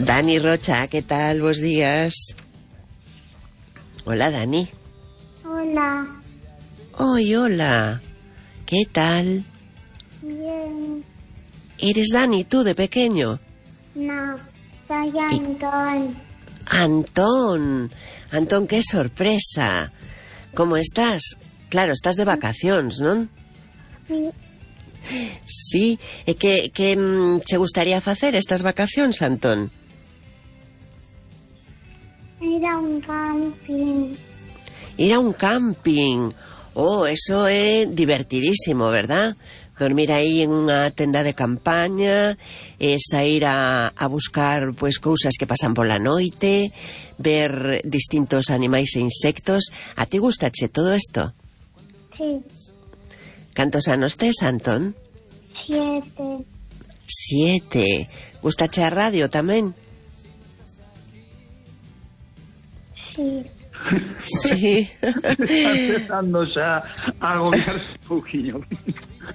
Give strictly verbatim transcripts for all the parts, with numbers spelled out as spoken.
Dani Rocha, ¿qué tal? Buenos días. Hola, Dani. Hola. Hoy, hola. ¿Qué tal? Bien. ¿Eres Dani tú de pequeño? No, soy Antón. Antón. Antón, qué sorpresa. ¿Cómo estás? Claro, estás de vacaciones, ¿no? Sí. Sí. E que, que mm, che gustaría facer estas vacacións, Antón? Ir a un camping. Ir a un camping. Oh, eso é divertidísimo, ¿verdad? Dormir aí en unha tenda de campaña, e sair a, a buscar pois cousas que pasan pola noite, ver distintos animais e insectos. A ti gustache todo isto? Sí. Cantos anos tes, Antón? Siete. Siete. Gustache a radio tamén? Sí. Sí. Está empezando xa a agobiarse un pouquiño.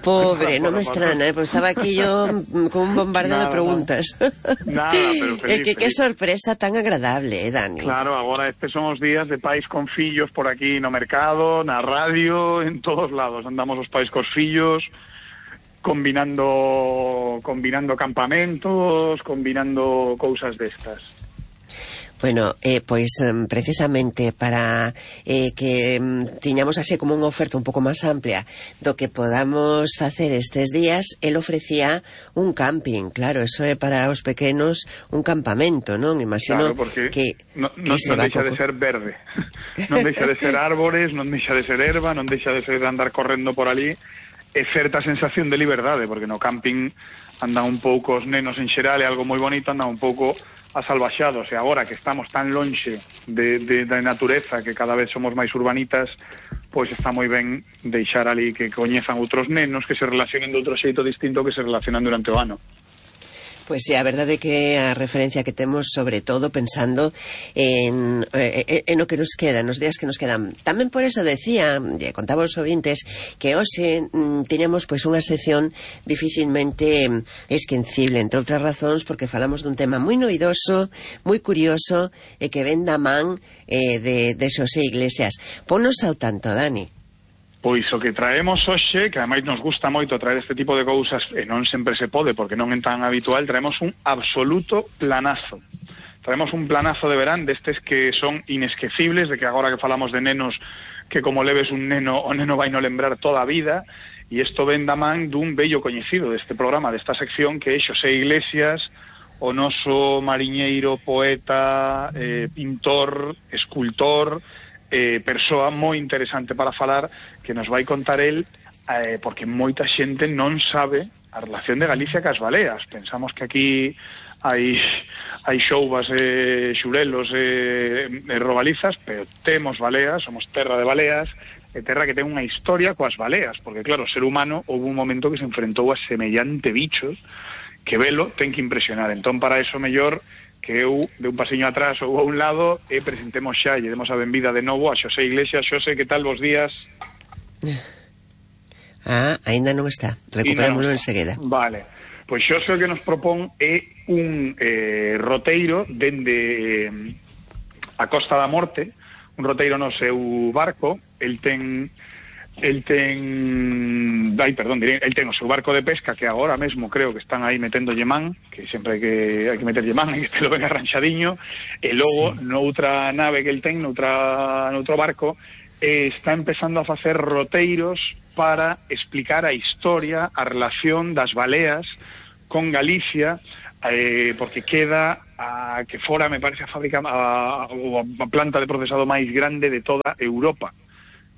Pobre, non me extraña, eh, pues estaba aquí yo con un bombardeo nada, de preguntas. Nada, pero feliz, É que qué feliz. sorpresa tan agradable, eh, Dani. Claro, agora estes son os días de pais con fillos por aquí no mercado, na radio, en todos lados. Andamos os pais cos fillos, combinando combinando campamentos, combinando cousas destas. Bueno, eh, pois um, precisamente para eh, que um, tiñamos así como unha oferta un pouco máis amplia do que podamos facer estes días, el ofrecía un camping. Claro, eso é para os pequenos un campamento, non? Imagino claro, porque que, no, que no, se non va deixa pouco... de ser verde. Non deixa de ser árbores, non deixa de ser erva, non deixa de ser andar correndo por ali. É certa sensación de liberdade, porque no camping andan un pouco os nenos en xeral, é algo moi bonito, andan un pouco asalvaxados, e agora que estamos tan lonxe de, de, da natureza, que cada vez somos máis urbanitas, pois está moi ben deixar ali que coñezan outros nenos, que se relacionen de outro xeito distinto que se relacionan durante o ano. Pois sí, a verdade é que a referencia que temos, sobre todo pensando en, en, en o que nos queda, nos días que nos quedan. Tamén por eso decía, e contaba aos ouvintes, que hoxe mm, teñamos pois unha sección dificilmente esquencible, entre outras razóns, porque falamos dun tema moi noidoso, moi curioso, e que ven da man eh, de, de Xosé Iglesias. Ponnos ao tanto, Dani. Pois o que traemos hoxe, que ademais nos gusta moito traer este tipo de cousas, e non sempre se pode porque non é tan habitual, traemos un absoluto planazo. Traemos un planazo de verán destes que son inesquecibles, de que agora que falamos de nenos, que como leves un neno, o neno vai no lembrar toda a vida, e isto ven da man dun bello coñecido deste programa, desta sección, que é Xosé Iglesias, o noso mariñeiro, poeta, eh, pintor, escultor, eh, persoa moi interesante para falar, que nos vai contar el, eh, porque moita xente non sabe a relación de Galicia cas baleas. Pensamos que aquí hai hai xouvas e eh, xurelos e eh, eh, robalizas, pero temos baleas, somos terra de baleas, e terra que ten unha historia coas baleas, porque claro, o ser humano houve un momento que se enfrentou a semellante bichos que velo ten que impresionar. Entón, para eso mellor que eu de un pasiño atrás ou a un lado e presentemos xa e demos a benvida de novo a Xosé Iglesias. Xosé, que tal, bos días? Ah, aínda non está, recuperámoslo no enseguida. Vale, pois Xosé o que nos propón é un eh, roteiro dende eh, a Costa da Morte, un roteiro no seu barco. El ten el ten ai, perdón, diré, el ten o seu barco de pesca, que agora mesmo creo que están aí metendo man, que sempre hai que hai que meterlle man, hai que este lo ben arranxadiño, e logo sí, noutra nave que el ten, noutra noutro barco, eh, está empezando a facer roteiros para explicar a historia, a relación das baleas con Galicia, eh, porque queda a que fora, me parece, a fábrica a, a planta de procesado máis grande de toda Europa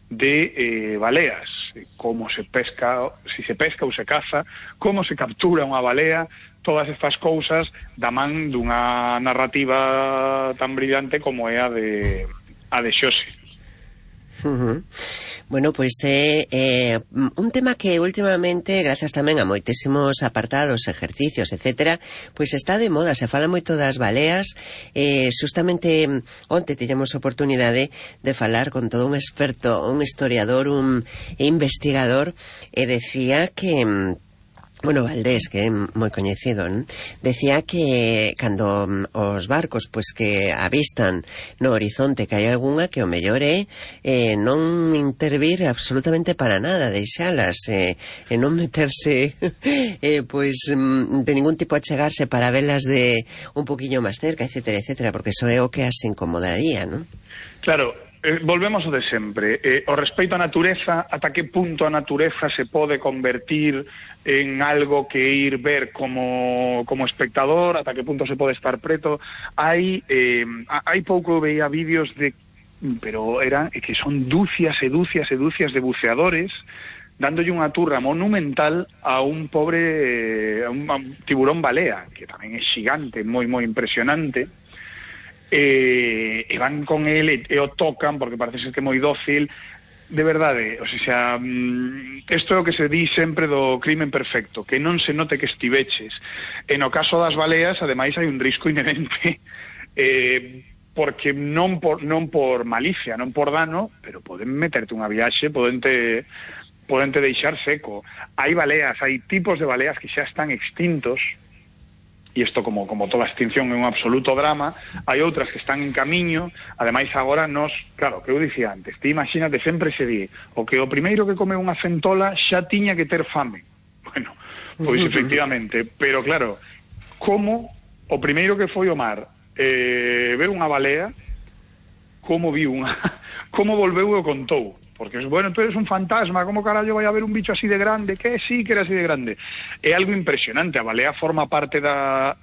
de eh, baleas, como se pesca, si se pesca ou se caza, como se captura unha balea, todas estas cousas da man dunha narrativa tan brillante como é a de a de Xosé. Uh-huh. Bueno, pois é eh, un tema que últimamente, grazas tamén a moitísimos apartados, exercicios, etcétera, pois está de moda, se fala moito das baleas. Eh, justamente onte tiñamos oportunidade de falar con todo un experto, un historiador, un investigador, e decía que Bueno, Valdés, que é moi coñecido, non? Decía que cando os barcos pois que avistan no horizonte que hai algunha, que o mellor é eh, non intervir absolutamente para nada, deixalas eh, e non meterse eh, pois de ningún tipo a chegarse para velas de un poquinho máis cerca, etcétera, etcétera, porque eso é o que as incomodaría, non? Claro. Eh, volvemos ao de sempre. Eh, o respeito á natureza, ata que punto a natureza se pode convertir en algo que ir ver como, como espectador, ata que punto se pode estar preto. Hai, eh, hai pouco veía vídeos de, pero eran que son dúcias e dúcias e dúcias de buceadores dándolle unha turra monumental a un pobre, a un, a un tiburón balea, que tamén é xigante, moi moi impresionante. E, e van con el e, e o tocan porque parece ser que é moi dócil, de verdade. O sea, isto é o que se di sempre do crimen perfecto, que non se note que estiveches. E no caso das baleas, ademais, hai un risco inherente, eh, porque non por, non por malicia, non por dano, pero poden meterte unha viaxe, podente podente deixar seco. Hai baleas, hai tipos de baleas que xa están extintos, e isto como, como toda extinción é un absoluto drama. Hai outras que están en camiño, ademais agora nos, claro, que eu dicía antes, ti imagínate, sempre se di o que o primeiro que come unha centola xa tiña que ter fame. Bueno, pois efectivamente, pero claro, como o primeiro que foi o mar eh, ver unha balea, como viu unha como volveu e o contou. Porque, bueno, tú eres un fantasma, como carallo vai a haber un bicho así de grande? Que sí que era así de grande. É algo impresionante, a balea forma parte da,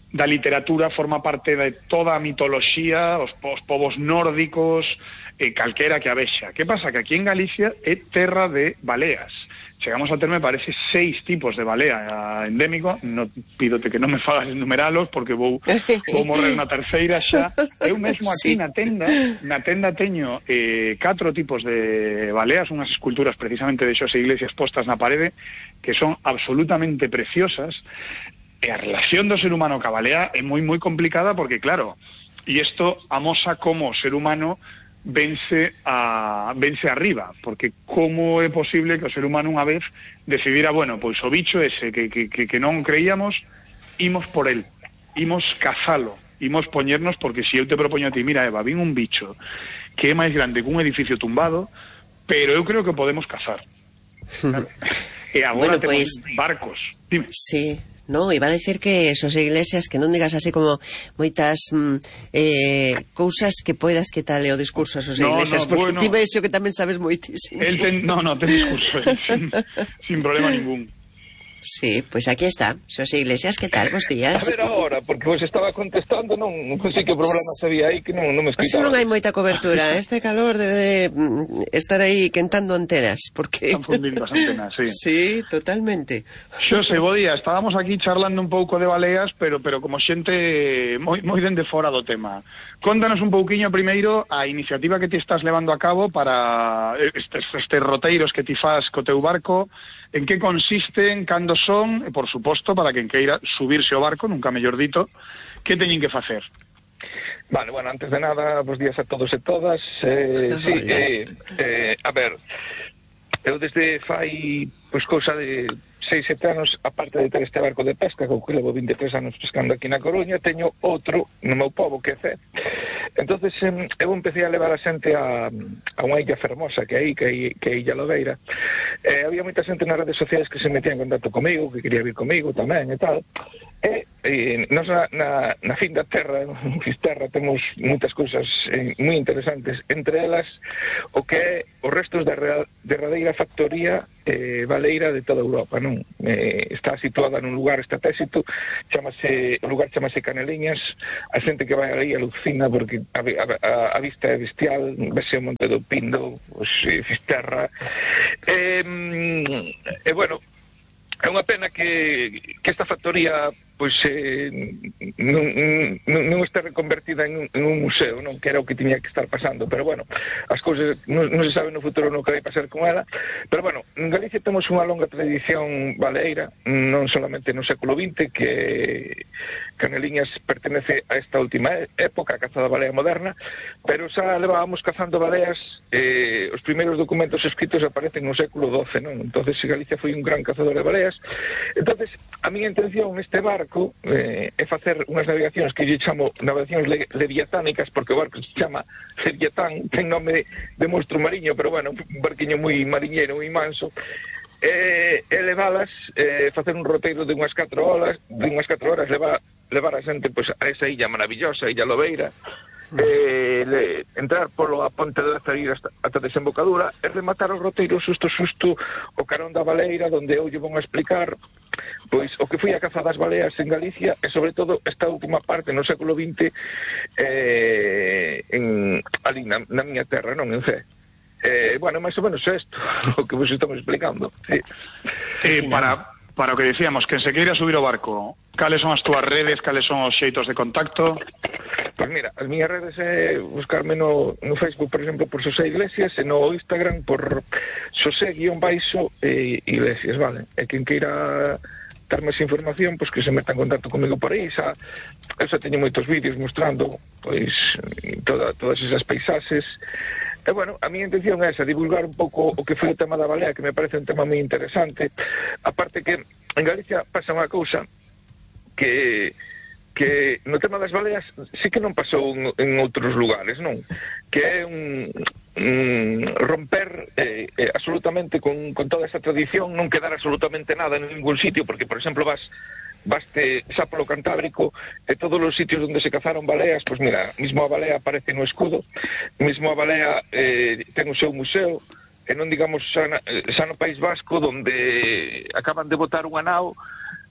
da literatura, forma parte de toda a mitoloxía, os, os povos nórdicos, eh, calquera que a vexa. Que pasa? Que aquí en Galicia é terra de baleas. Chegamos a ter, me parece, seis tipos de balea endémico. No, pídote que non me fagas enumeralos porque vou, vou morrer na terceira xa. Eu mesmo aquí sí. na tenda na tenda teño eh, catro tipos de baleas, unhas esculturas precisamente de Xosé Iglesias postas na parede, que son absolutamente preciosas. E a relación do ser humano ca balea é moi moi complicada porque, claro, e isto amosa como o ser humano vence a vence arriba, porque como é posible que o ser humano unha vez decidira, bueno, pois o bicho ese que, que, que, que non creíamos, imos por el, imos cazalo, imos poñernos, porque se eu te propoño a ti, mira Eva, vin un bicho que é máis grande que un edificio tumbado, pero eu creo que podemos cazar. Claro. E agora bueno, temos pues, barcos. Dime. Sí. No, iba a decir que Xosé Iglesias, que non digas así como moitas mm, eh, cousas que poidas que tal é o discurso a Xosé no, Iglesias, no, porque bueno, ti vexo que tamén sabes moitísimo. El ten, no, no, ten discurso, eh, sin, sin problema ningún. Sí, pois pues aquí está. Xosé Iglesias, que tal? Bos días. A ver agora, porque vos estaba contestando, non, non sei que problema sabía aí que non, non me escuitaba. Non hai moita cobertura, este calor debe de estar aí quentando antenas, porque... Están fundindo as antenas, sí. Sí, totalmente. Xosé, bo día, estábamos aquí charlando un pouco de baleas, pero pero como xente moi, moi dende fora do tema. Contanos un pouquiño primeiro a iniciativa que ti estás levando a cabo para estes, estes roteiros que ti fas co teu barco. En que consisten, cando son, e por suposto, para quen queira subirse ao barco, nunca mellor dito, que teñen que facer? Vale, bueno, antes de nada, bos días a todos e todas. Eh, sí, eh, eh, a ver, eu desde fai, pois, cousa de seis, sete anos, aparte de ter este barco de pesca, que levo vinte e tres anos pescando aquí na Coruña, teño outro no meu pobo, que é Cee. Entonces eu empecé a levar a xente a, a unha illa fermosa que aí, que é, que é Illa Lobeira. Eh, había moita xente nas redes sociais que se metía en contacto comigo, que quería vir comigo tamén e tal. E, e nos na, na, na fin da terra, en Fisterra, temos moitas cousas eh, moi interesantes, entre elas o que é os restos da derradeira factoría eh, baleira de toda Europa, non? Eh, está situada nun lugar estratégico, chamase, o lugar chamase Caneliñas. A xente que vai aí alucina porque a, a, a vista é bestial, vese o Monte do Pindo, pues, eh, Fisterra. E, eh, eh, bueno, é unha pena que, que esta factoría pois eh, non, non, non está reconvertida en un, en un museo, non, que era o que tiña que estar pasando, pero bueno, as cousas non, non se sabe no futuro no que vai pasar con ela. Pero bueno, en Galicia temos unha longa tradición baleira, non solamente no século vinte, que, que Caneliñas pertenece a esta última época, a caza da balea moderna, pero xa levábamos cazando baleas, eh, os primeiros documentos escritos aparecen no século doce, non? Entonces Galicia foi un gran cazador de baleas. Entonces a miña intención neste barco eh, é facer unhas navegacións que lle chamo navegacións le leviatánicas, porque o barco se chama Leviatán, ten nome de monstro mariño, pero bueno, un barquiño moi mariñeiro, moi manso, e, e levalas, eh, facer un roteiro de unhas catro horas, de unhas catro horas, levar, levar a xente pues, a esa illa maravillosa, Illa Lobeira, eh, le, entrar polo a ponte de Azarir hasta, hasta a desembocadura e rematar o roteiro susto susto o carón da baleira, donde eu lle vou a explicar pois o que foi a caza das baleas en Galicia e sobre todo esta última parte no século vinte eh, en, ali na, na miña terra, non en Cee. Eh, bueno, máis ou menos isto o que vos estamos explicando. Sí. Eh, para, para o que decíamos, que se queira subir o barco, cales son as túas redes, cales son os xeitos de contacto? Pois mira, as miñas redes é buscarme no, no Facebook, por exemplo, por Xosé Iglesias, e no Instagram por Xosé-baixo e Iglesias, vale? E quen queira dar máis información, pois que se meta en contacto comigo por aí, xa, eu xa teño moitos vídeos mostrando, pois, toda, todas esas paisaxes. E, bueno, a miña intención é esa, divulgar un pouco o que foi o tema da balea, que me parece un tema moi interesante. Aparte que en Galicia pasa unha cousa que que no tema das baleas sí que non pasou en, en outros lugares, non? Que é un, un romper eh, eh, absolutamente con, con toda esa tradición, non quedar absolutamente nada en ningún sitio, porque, por exemplo, vas baste xa polo Cantábrico e todos os sitios onde se cazaron baleas, pois mira, mismo a balea aparece no escudo, mismo a balea eh, ten o seu museo, e non digamos xa, na, xa no País Vasco, donde acaban de botar unha nao,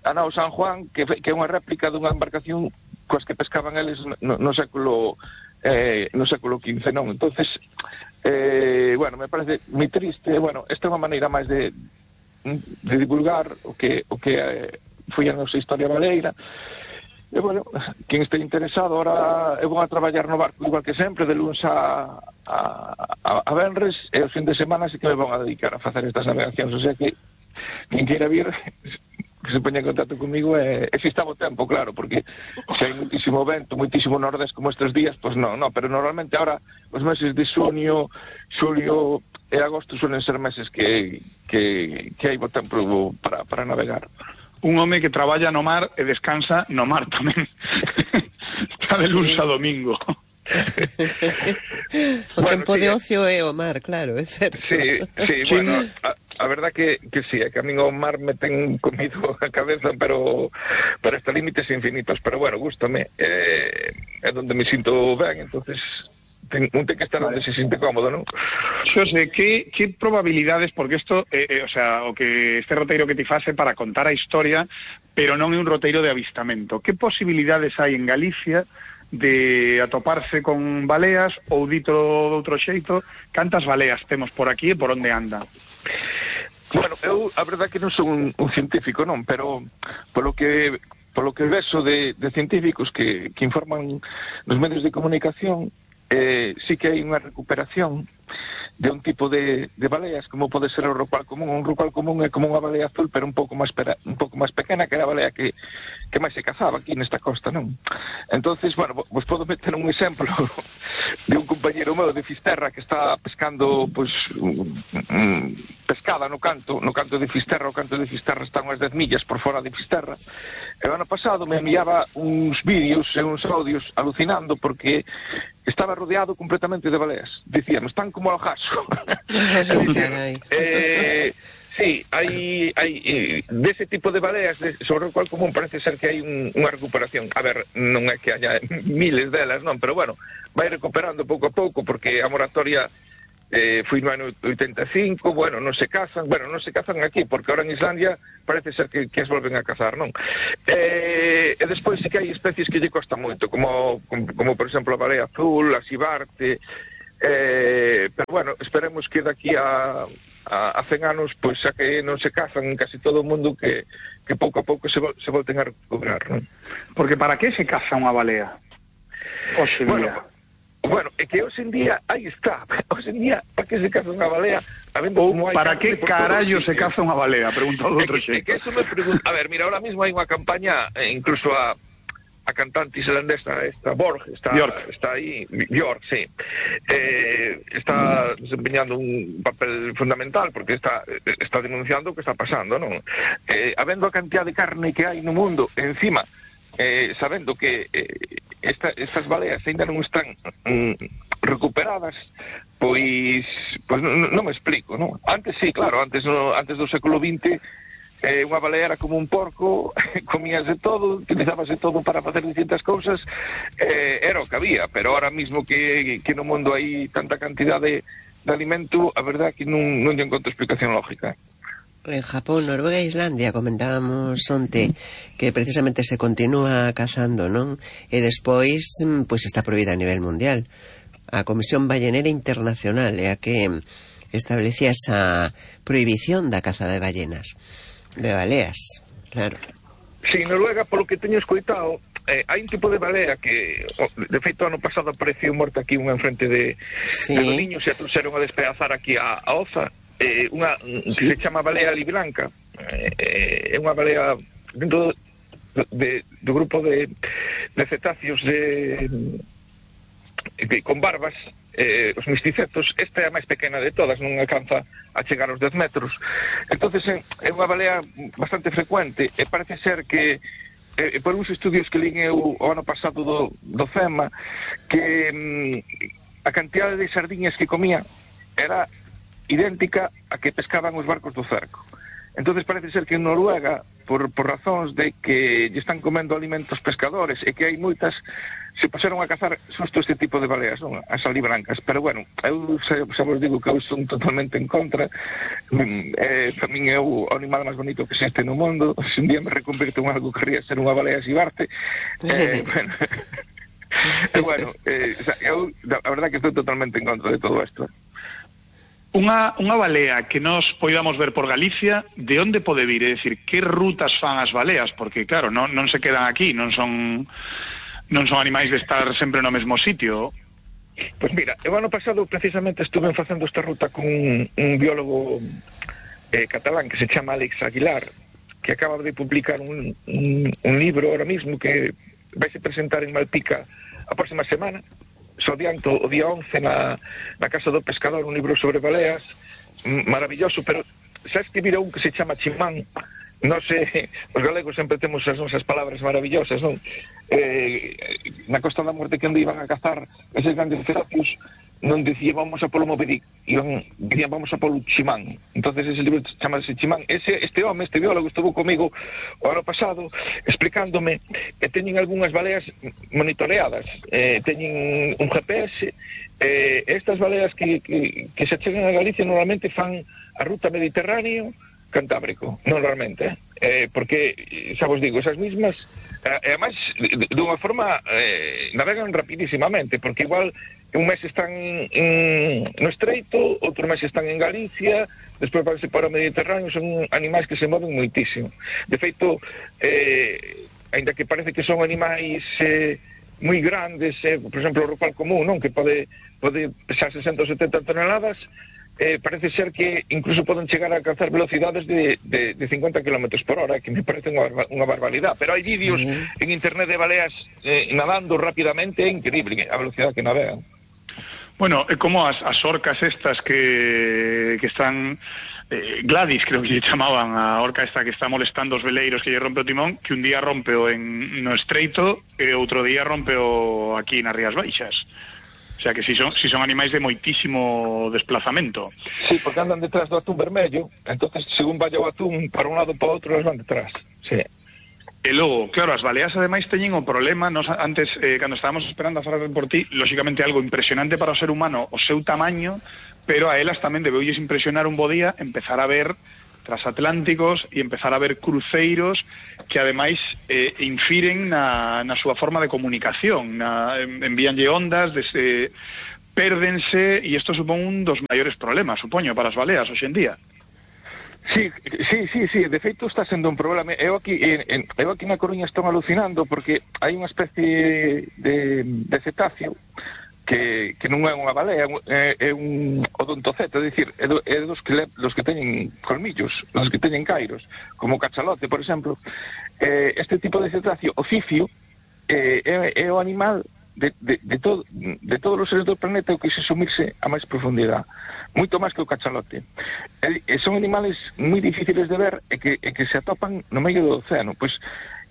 a nao San Juan, que, que é unha réplica dunha embarcación coas que pescaban eles no, no século eh, no século quince, non? Entonces, eh, bueno, me parece moi triste. Bueno, esta é unha maneira máis de de divulgar o que o que eh, foi a nosa historia baleira. E, bueno, quen este interesado, ahora eu vou a traballar no barco igual que sempre, de luns a, a, a, a venres, e os fin de semana sí que me vou a dedicar a facer estas navegacións, o sea que quen queira vir que se poña en contacto comigo e, e se está o tempo, claro, porque se hai muitísimo vento, muitísimo nordés como estes días, pois non, non, pero normalmente ahora os meses de xunio, xulio e agosto suelen ser meses que, que, que hai bo tempo para, para navegar. Un home que traballa no mar e descansa no mar tamén. Está de luns a domingo. O Bueno, tempo sí, de ocio é o mar, claro, é certo. Sí, sí, bueno, a, a verdad que, que sí, é que a min o mar me ten comido a cabeza, pero para hasta límites infinitos, pero bueno, gústame, eh, é donde me sinto ben, entonces ten, un ten que estar onde se sinte cómodo, non? Xosé, que, que probabilidades, porque isto, eh, eh, o sea, o que este roteiro que ti fase para contar a historia, pero non é un roteiro de avistamento, que posibilidades hai en Galicia de atoparse con baleas, ou dito de outro xeito, cantas baleas temos por aquí e por onde andan? Bueno, eu a verdade que non son un, un científico, non, pero polo que polo que vexo de, de científicos que, que informan nos medios de comunicación, eh, sí que hai unha recuperación de un tipo de, de baleas, como pode ser o rocual común. Un rocual común é como unha balea azul, pero un pouco máis pera, un pouco máis pequena, que era a balea que, que máis se cazaba aquí nesta costa, non? Entonces, bueno, vos podo meter un exemplo de un compañero meu de Fisterra que está pescando, pois, um, pescada no canto, no canto de Fisterra. O canto de Fisterra está unhas dez millas por fora de Fisterra. E o ano pasado me enviaba uns vídeos e uns audios alucinando porque estaba rodeado completamente de baleas. Dicían, están como al jaso. eh, sí, hai, hai eh, dese tipo de baleas de, sobre o cual común parece ser que hai un, unha recuperación. A ver, non é que haya miles delas, non, pero bueno, vai recuperando pouco a pouco porque a moratoria eh, foi no ano oitenta e cinco, bueno, non se cazan, bueno, non se cazan aquí, porque ahora en Islandia parece ser que, que as volven a cazar, non? Eh, e despois sí que hai especies que lle costa moito, como, como, como por exemplo a baleia azul, a sibarte, eh, pero bueno, esperemos que daqui a, a, a cen anos, pois xa que non se cazan en casi todo o mundo, que, que pouco a pouco se, vol, se volten a recuperar, non? Porque para que se caza unha balea? Hoxe bueno, día. Bueno, é que hoxe en día, aí está, hoxe en día, para que se caza unha balea? Ou para que carallo se caza unha balea? Preguntado de outro xeito. É que eso me pregunto, a ver, mira, ahora mismo hai unha campaña, eh, incluso a, a cantante islandesa esta Borg está, está aí, Björk, sí, eh, está desempeñando un papel fundamental porque está está denunciando o que está pasando, non? Eh, habendo a cantidad de carne que hai no mundo, encima, eh, sabendo que eh, esta, estas baleas ainda non están mm, recuperadas, pois, pois non, non me explico, non? Antes sí, claro, antes, no, antes do século vinte, Eh, unha balea era como un porco, comíase todo, utilizábase todo para facer distintas cousas, eh, era o que había, pero ahora mismo que, que no mundo hai tanta cantidad de, de alimento, a verdade é que non, non lle encontro explicación lógica. En Japón, Noruega e Islandia comentábamos onte que precisamente se continúa cazando, non? E despois, pois está prohibida a nivel mundial. A Comisión Ballenera Internacional é a que establecía esa prohibición da caza de ballenas. De baleas, claro. Sí, Noruega, polo que teño escoitado, eh, hai un tipo de balea que, oh, de feito, ano pasado apareceu morta aquí unha enfrente de, sí. de Godiños e a trouxeron a despedazar aquí a, a Oza, eh, unha que se chama balea libranca, eh, é unha balea dentro do, de, do grupo de, de cetáceos de, de, con barbas, eh, os misticetos. Esta é a máis pequena de todas, non alcanza a chegar aos dez metros. Entonces é unha balea bastante frecuente e parece ser que eh, por uns estudios que lín eu o ano pasado do, do FEMA, que mm, a cantidade de sardiñas que comía era idéntica a que pescaban os barcos do cerco. Entonces parece ser que en Noruega, por, por razóns de que lle están comendo alimentos pescadores e que hai moitas, se pasaron a cazar xusto este tipo de baleas, non? As alibrancas. Pero bueno, eu xa, xa vos digo que eu son totalmente en contra. Eh, para min é o animal máis bonito que existe no mundo. Se un día me reconvirto en algo que querría ser unha balea xibarte, eh, bueno, e bueno, eh, eu a verdade que estou totalmente en contra de todo isto. Unha, unha balea que nos poidamos ver por Galicia, de onde pode vir? É dicir, que rutas fan as baleas? Porque, claro, non, non se quedan aquí, non son non son animais de estar sempre no mesmo sitio. Pois mira, o ano pasado precisamente estuve facendo esta ruta con un, un biólogo eh, catalán que se chama Alex Aguilar, que acaba de publicar un, un, un libro ahora mismo que vai se presentar en Malpica a próxima semana. So adianto o día once na, na Casa do Pescador, un libro sobre baleas maravilloso, pero xa escribira un que se chama Chimán. Non sei, os galegos sempre temos as nosas palabras maravillosas, non? Eh, na Costa da Morte, que onde iban a cazar eses grandes cetáceos, non dicía vamos a polo Movedí, iban, dirían vamos a polo Chimán. Entonces ese libro chamase Chimán. Ese, este home, este biólogo, estuvo comigo o ano pasado explicándome que teñen algunhas baleas monitoreadas, eh, teñen un G P S, eh, estas baleas que, que, que se chegan a Galicia normalmente fan a ruta Mediterráneo Cantábrico, normalmente, eh, porque, xa vos digo, esas mismas, e ademais, dunha forma, eh, navegan rapidísimamente, porque igual un mes están en, no Estreito, outro mes están en Galicia, despois vanse para o Mediterráneo, son animais que se moven moitísimo. De feito, eh, ainda que parece que son animais eh, moi grandes, eh, por exemplo, o rupal común, non? Que pode, pode pesar sesenta ou setenta toneladas, Eh, parece ser que incluso poden chegar a alcanzar velocidades de, de, de cincuenta kilómetros por hora, que me parece unha, unha barbaridade. Pero hai vídeos sí. en internet de baleas eh, nadando rapidamente, é increíble a velocidade que navegan. Bueno, é como as, as orcas estas que, que están... Eh, Gladys, creo que lle chamaban a orca esta que está molestando os veleiros que lle rompe o timón, que un día rompe o en, no Estreito e outro día rompe o aquí nas Rías Baixas. O sea que si son, si son animais de moitísimo desplazamento. Sí, porque andan detrás do atún vermello, entonces según vaya o atún para un lado para outro, eles van detrás. Sí. E logo, claro, as baleas ademais teñen o problema, nos, antes, eh, cando estábamos esperando a falar por ti, lógicamente algo impresionante para o ser humano, o seu tamaño, pero a elas tamén debeulles impresionar un bo día empezar a ver transatlánticos e empezar a ver cruceiros que ademais eh, infiren na, na súa forma de comunicación, na, envíanlle ondas, dese, pérdense, e isto supón un dos maiores problemas, supoño, para as baleas hoxe en día. Sí, sí, sí, sí, de feito está sendo un problema. Eu aquí, en, eu aquí na Coruña estou alucinando porque hai unha especie de, de cetáceo que, que non é unha balea, é, é un odontoceta, é dicir, é, do, é dos, que le, dos que teñen colmillos, dos que teñen cairos, como o cachalote, por exemplo. Eh, este tipo de cetáceo, o cifio, eh, é, é o animal de, de, de, todo, de todos os seres do planeta o que se sumirse a máis profundidade, moito máis que o cachalote. E, e son animales moi difíciles de ver e que, e que se atopan no medio do océano. Pois,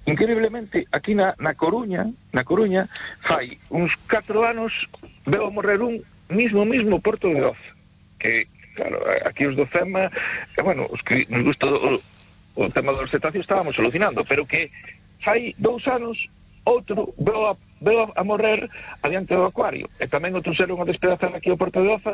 increíblemente, aquí na, na Coruña, na Coruña, fai uns catro anos veo morrer un mismo, mismo Porto de Oza, que, claro, aquí os do FEMA, eh, bueno, os que nos gusta o, o tema dos cetáceos estábamos alucinando, pero que fai dous anos outro veo a, veo a morrer adiante do acuario, e tamén outro seron a despedazar aquí ao Porto de Oza,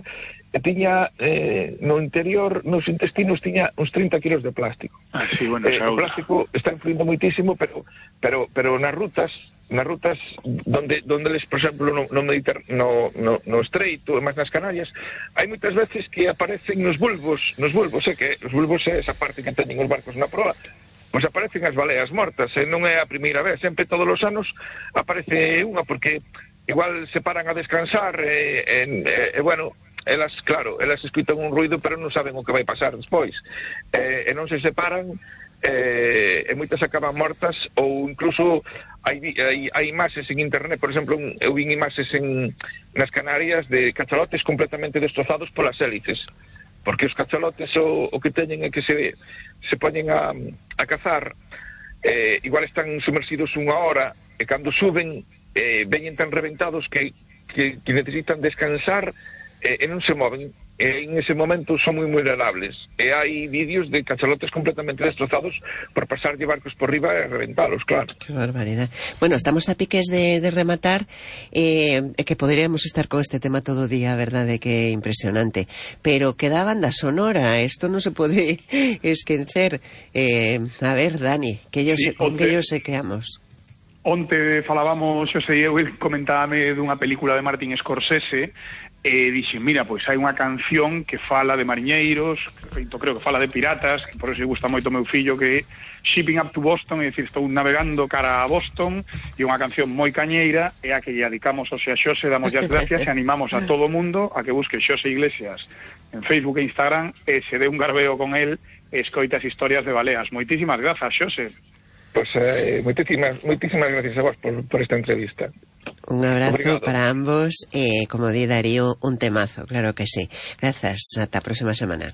e tiña eh, no interior, nos intestinos tiña uns trinta kilos de plástico. Ah, sí, bueno, eh, o plástico está influindo moitísimo, pero pero pero nas rutas nas rutas donde donde les, por exemplo, no, no, Mediter, no, no, no Estreito e máis nas Canarias, hai moitas veces que aparecen nos bulbos, nos bulbos, é que os bulbos é esa parte que teñen os barcos na proa, pois aparecen as baleas mortas, e non é a primeira vez, sempre todos os anos aparece unha, porque igual se paran a descansar e, e, e bueno, elas, claro, elas escutan un ruido pero non saben o que vai pasar despois, e, e non se separan, e, e moitas acaban mortas, ou incluso hai, hai, hai imaxes en internet, por exemplo, eu vi imaxes en, nas Canarias de cachalotes completamente destrozados polas hélices, porque os cachalotes o, o que teñen é que se, se poñen a, a cazar, eh, igual están sumersidos unha hora, e cando suben eh, veñen tan reventados que, que, que necesitan descansar, eh, e non se moven, e en ese momento son moi vulnerables, e hai vídeos de cachalotes completamente destrozados por pasar de barcos por riba e reventalos, claro. Que barbaridad. Bueno, estamos a piques de, de rematar, eh, que poderíamos estar con este tema todo o día, verdade, que é impresionante, pero queda banda sonora, isto non se pode esquecer. Eh, a ver, Dani, que yo sí, se, con onte, que yo se queamos. Onte falábamos, Xosé Diego, comentábame dunha película de Martin Scorsese, e dixen, mira, pois hai unha canción que fala de mariñeiros, feito creo que fala de piratas, que por eso lle gusta moito meu fillo, que é Shipping Up to Boston, é dicir, estou navegando cara a Boston, e unha canción moi cañeira, é a que lle dedicamos ao Xosé Xosé, damos as gracias e animamos a todo o mundo a que busque Xosé Iglesias en Facebook e Instagram, e se dé un garbeo con el e escoita as historias de baleas. Moitísimas grazas, Xosé. Pois eh, moitísimas, moitísimas gracias a vos por, por esta entrevista. Un abrazo Obrigado. para ambos, e eh, como di Darío, un temazo, claro que sí. Grazas, ata a próxima semana.